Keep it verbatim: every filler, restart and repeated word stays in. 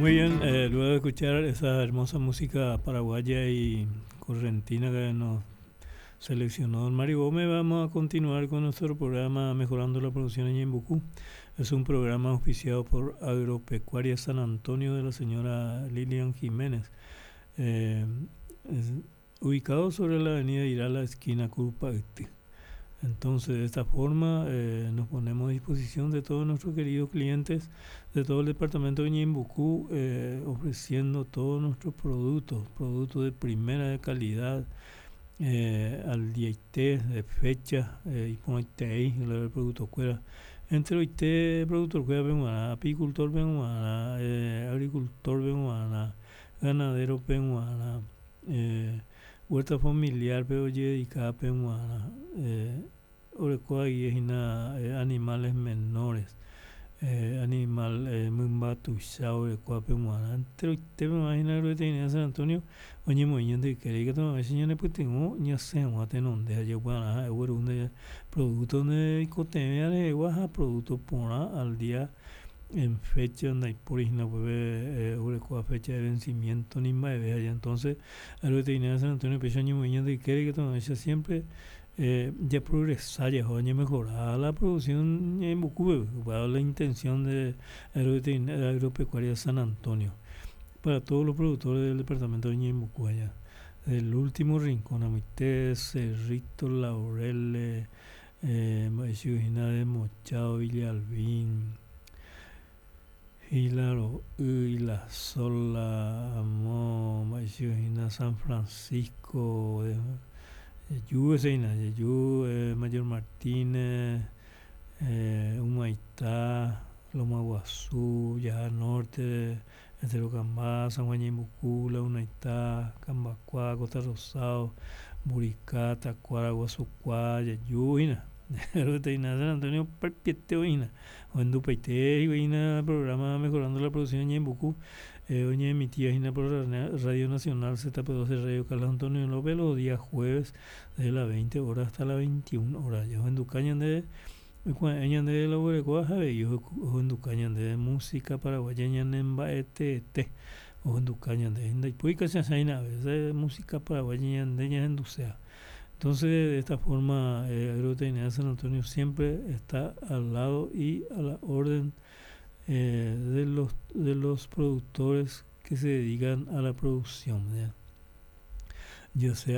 Muy bien, eh, luego de escuchar esa hermosa música paraguaya y correntina que nos seleccionó don Mario Gómez, vamos a continuar con nuestro programa Mejorando la Producción en Ñeembucú. Es un programa auspiciado por Agropecuaria San Antonio de la señora Lilian Jiménez. Eh, es ubicado sobre la avenida Irala, esquina Curupayty. Entonces, de esta forma, eh, nos ponemos a disposición de todos nuestros queridos clientes de todo el departamento de Ñeembucú, eh, ofreciendo todos nuestros productos, productos de primera de calidad, eh, al día de fecha, eh, y el producto fuera. Entre oite productor cuera apicultor eh, agricultor ganadero peguarã, eh, huerta familiar pe ojedicada peguarã, eh, orekóva hína eh, animales menores, eh, animal eh, mymba tuicha orekóva peguarã, enteroite peguarã hína Agroveterinaria San Antonio oñemoĩ ñande ykére ikatu ñanepytyvõ ñasẽ hag̃ua tenonde ha jaukuaarã ha'e ogueru producto oikotevẽ rehegua ha producto porã al día en fecha ndaipóri hína upépe orekóva fecha de vencimiento ni mba'eve entonces Agroveterinaria San Antonio péicha oñemoĩ ñande ykére ikatu siempre eh, ya progresa ya mejorada la producción en Ñeembucúpe, la intención de Agroveterinaria Agropecuaria San Antonio para todos los productores del departamento de Ñeembucú allá del último rincón, Amité, Cerrito, Laureles, eh, de Mochao, Villalbín, Hilaro, La Sola, Amo, San Francisco, Yeyu, Yeyu, eh, Mayor Martínez, eh, Humaitá, Loma Guazú, Ya Norte, Estero Cambá, San Juan Ñeembucú, Lagunaitá, Cambacuá, Costa Rosado, Buricá, Tacuara, Guasucuá, Yeyu, hína. San Antonio opapiete hína ohendupaite hína programa Mejorando la Producción en Ñeembucú eh, oñeemitía hína por Radio Nacional Z P dos de Radio Carlos Antonio López los días jueves de las veinte horas hasta las veintiuna horas. Ohenduka ñande ñande la oguerekóva avei ohenduka ñande música paraguaya ñanemba'etete ohenduka ñande ndaipói kacha'ãina a veces música paraguaya ñande ñahenduséva. Entonces, de esta forma, eh, Agroveterinaria San Antonio siempre está al lado y a la orden eh, de, los, de los productores que se dedican a la producción, ¿ya? Ya sea